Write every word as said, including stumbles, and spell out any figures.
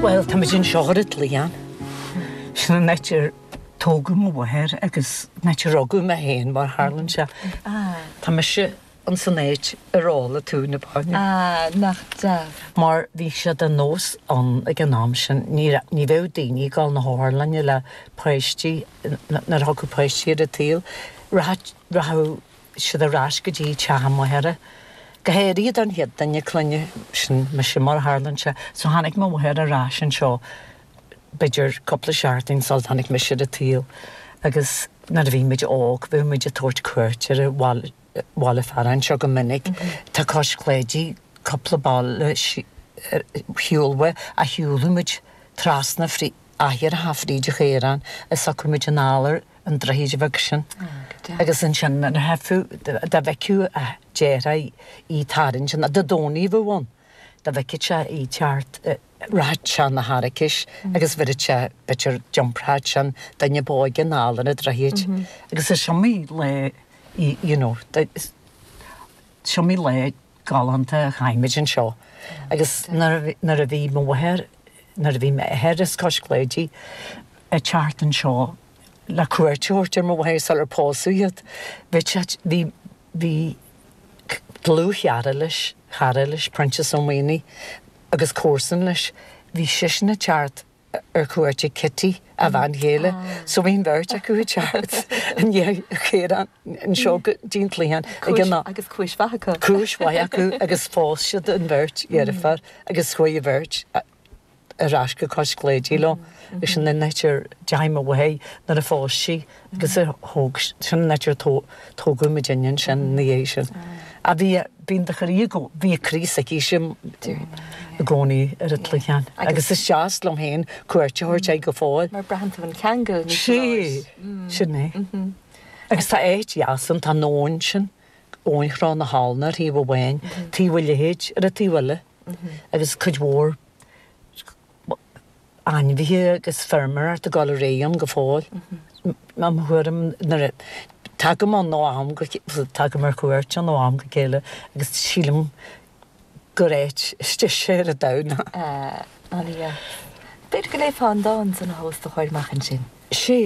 Well, tá muid anseo ar an gCloicheán. Sin an áit ar tógadh mo mháthair agus an áit ar rugadh mé féin mar tharlaíonn sé. Tá mise an san áit ar ól tú na bainne. Ah, nach deas. Mar bhí sé de nós ann ag an am sin ní ní bheadh daoine ag dul na hotharlainne le páistí nuair a thagadh páistí ar an tsaol, rachadh siad ar ais go dtí teach a máthara. Go háirithe don chéad duine clainne sin mise mar a tharlaíonn sé, so tháinig mo mháthair ar ais anseo b'fhéidir cúpla seachtain sula dtáinig mise ar an tsaol agus nuair a bhí muid óg bheadh muid ag tabhairt cuairt ar an bhaile bhaile fearainn seo go minic. Tá Cois Cláidí cúpla baile shiúl uaidh a shiúladh muid trasna frí achar fríd an chaorán is thiocfadh muid anall ar an droichead bheag sin. Agus ansin nuair a theifeadh dá bhfeicfeadh a deartháir í tarraingt an Dé Domhnaigh a bheadh ann, dá bhfeicfeadh sé í teacht rachadh sé na haraicis agus bheireadh sé b'fhéidir d'iompródh sin duine ba óige anall ar an droichead. Agus is iomaí lá you know, is iomaí lá galánta a chaith muid anseo. Agus nuair a bhí mo mháthair nuair a bhí m'athair as Cois Cláidí ag teacht anseo le cuairt a thabhairt ar mo mháthair sular pósadh iad, bhí sé bhí bhí dlúthchara leis, cara leis, Proinsias Ó Maonaigh agus comharsan leis, bhí seisean ag teacht ar cuairt ag Kitty a bhean chéile, so bhí an bheirt acu ag teacht i ndiaidh an chaoráin anseo go dtí an Cloicheán ag an Agus cúis mhaith acu. Cúis mhaith acu agus phós siad an bheirt dheirfiúr agus chuaigh an bheirt ar ais go Cois Cláidí leo. Agus sin an áit ar deachaigh mo mháthair nuair a phós sí agus a thóg sin an áit ar tógadh muidinne ansin ina dhiaidh sin. A bhí bíonn do chroí go bhí a croí s'aici i gcónaí ar an Chloicheán. Agus is deas liom féin cuairt a thabhairt air go fóill. Mar braitheann tú an ceangal níos Sé sin é. Agus tá áit dheas ann, tá an abhainn sin, abhainn Chró na hAbhna ar thaobh amháin, taobh a leithéid ar an taobh eile agus cuid mhór ainmhithe agus feirmeoireacht ag dul ar aghaidh ann go fóill. Mo thuairim nuair a tagaim ann ó am go tagaim ar cuairt ann ó am go chéile agus sílim gur áit is deise ar an domhan. Ana-dheas. B'fhéidir go léifeá an dán san a thomhas do chur amach ansin. Sé.